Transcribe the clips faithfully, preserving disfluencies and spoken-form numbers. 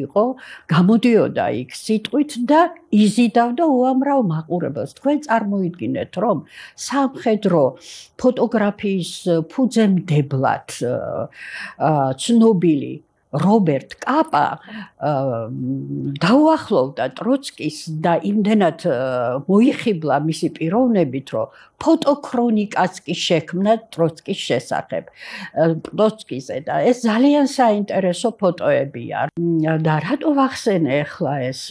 იყო, გამოდიოდა იქ სიტყვით და იზიდავდა უამრავ მაყურებელს. თქვენ წარმოიდგინეთ, რომ სამხედრო ფოტოგრაფიის ფუძემდებლად ცნობილი რობერტ კაპა დაუახლოვდა ტროცკის და იმდენად მოიხიბლა მისი პიროვნებით, რომ ფოტოქრონიკაც კი შექმნა ტროცკის შესახებ. ტროცკიზე და ეს ძალიან საინტერესო ფოტოებია. და რატო ვახსენე ახლა ეს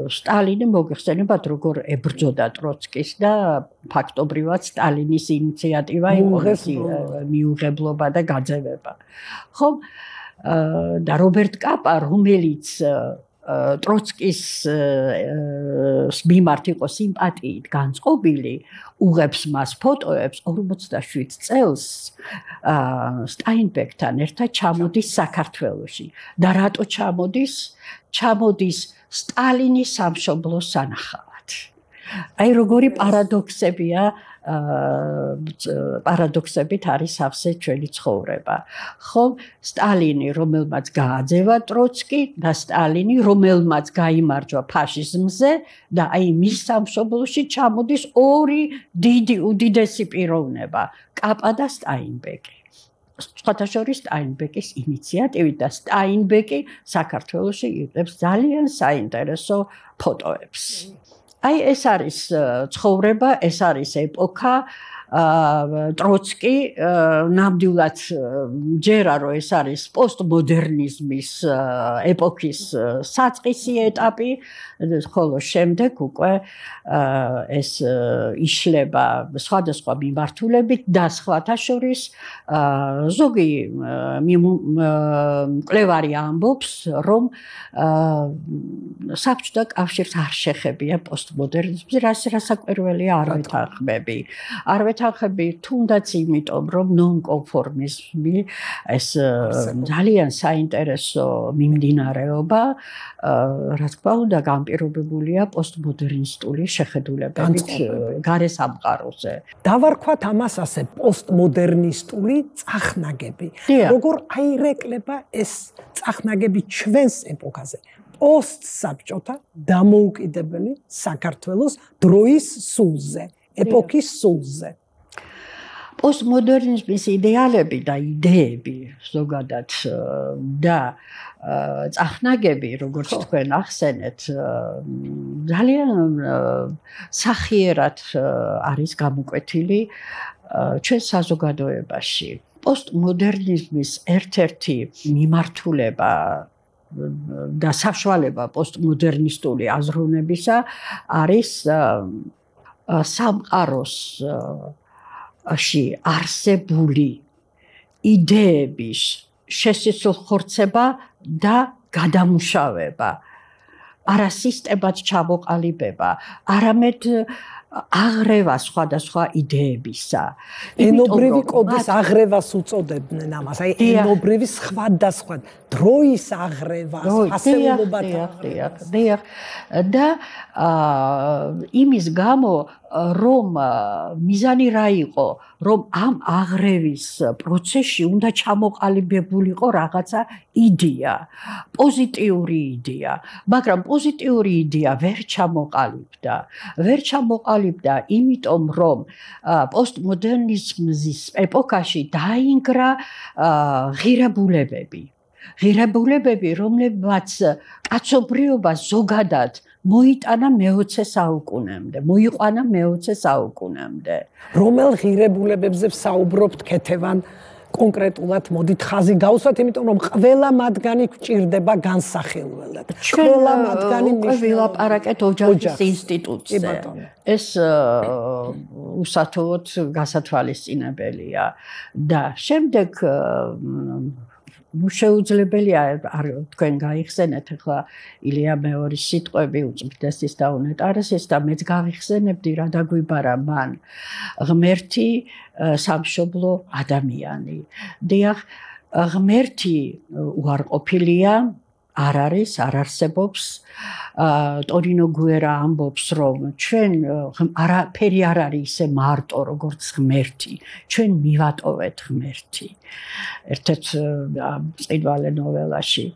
სტალინი მოგეხსენებათ, როგორ ებრძოდა ტროცკის და ფაქტობრივად სტალინის ინიციატივა იყო მიუღებლობა და გაძევება. ხო? და რობერტ კაპა, რომელიც ტროცკის მიმართ იყო სიმპათიით განწყობილი, უღებს მას ფოტოებს ორმოცდაშვიდ წელს სტაინბეკთან ერთად ჩამოდის საქართველოში. და რატო ჩამოდის? ჩამოდის სტალინის სამშობლოს სანახავად. აი როგორი პარადოქსებია, პარადოქსებით არის ავსე ჩვენი ცხოვრება. ხო, სტალინი, რომელმაც გააძევა ტროცკი და სტალინი, რომელმაც გაიმარჯვა ფაშიზმზე და აი მის სამშობლოში ჩამოდის ორი დიდი უდიდესი პიროვნება, კაპა და სტაინბეკი. სხვათა შორის სტაინბეკის ინიციატივით და სტაინბეკი საქართველოში იღებს ძალიან საინტერესო ფოტოებს. აი ეს არის ცხოვრება, ეს არის ეპოქა. ტროცკი ნამდვილად ჯერა რომ ეს არის პოსტმოდერნიზმის ეპოქის საწყისი ეტაპი, ხოლო შემდეგ უკვე ეს იშლება სხვადასხვა მიმართულებით და სხვათა შორის ზოგი მკვლევარი ამბობს, რომ საბჭოთა კავშირს არ შეხებია პოსტმოდერნიზმი, რასაკვირველია არ ვეთანხმები. არ ვეთანხმები თუნდაც იმიტომ, რომ ნონკონფორმიზმი ეს ძალიან საინტერესო მიმდინარეობა, რა თქმა უნდა, განპირობებულია პოსტმოდერნისტული შეხედულებებით გარესამყაროზე. დავარქვათ ამას ასე პოსტმოდერნისტული წახნაგები. როგორ აირეკლება ეს წახნაგები ჩვენს ეპოქაზე? პოსტსაბჭოთა დამოუკიდებელი საქართველოს დროის სულზე, ეპოქის სულზე. პოსტმოდერნიზმის იდეალები და იდეები ზოგადად და წახნაგები, როგორც თქვენ ახსენეთ, ძალიან სახიერად არის გამოკვეთილი ჩვენ საზოგადოებაში. პოსტმოდერნიზმის ერთ-ერთი მიმართულება და საშუალება პოსტმოდერნისტული აზროვნებისა არის სამყაროსში არსებული იდეების შესისხორცება და გადამუშავება, არა სისტემად ჩამოყალიბება, არამედ აღრევა სხვადასხვა იდეებისა. ენობრივი კოდის აღრევას უწოდებდნენ ამას, აი ენობრივი სხვადასხვა დროის აღრევას, ასეულობათა აღრევას. და იმის გამო, რომ მიზანი რა იყო, რომ ამ აღრევის პროცესში უნდა ჩამოყალიბებულიყო რაღაცა იდეა, პოზიტიური იდეა, მაგრამ პოზიტიური იდეა ვერ ჩამოყალიბდა. ვერ ჩამოყალიბდა, იმიტომ რომ პოსტმოდერნიზმის ეპოქაში დაინგრა ღირებულებები. ღირებულებები, რომლებმაც კაცობრიობა ზოგადად მოიტანა მეოცე საუკუნემდე, მოიყვანა მეოცე საუკუნემდე. რომელ ღირებულებებზე ვსაუბრობთ ქეთევან კონკრეტულად მოდით ხაზი გავუსვათ, იმიტომ რომ ყველა მათგანი გვჭირდება განსახილველად. ყველა მათგანი ვილაპარაკეთ ოჯახის ინსტიტუტზე. ეს უსათხოვოდ გასათვალისწინებელია და შემდეგ შეუძლებელია თქვენ გაიხსენეთ ახლა ილია მეორის სიტყვები უწმიდესის და უნეტარესის და მეც გავიხსენებდი რა დაგვიბარა მან ღმერთი სამშობლო ადამიანი. დიახ, ღმერთი უარყოფილია, არ არის, არ არსებობს. ტონინო გუერა ამბობს, რომ ჩვენ არაფერი არ არის ისე მარტო, როგორც ღმერთი. ჩვენ მივატოვეთ ღმერთი. ერთ-ერთ წინვალე ნოველაში.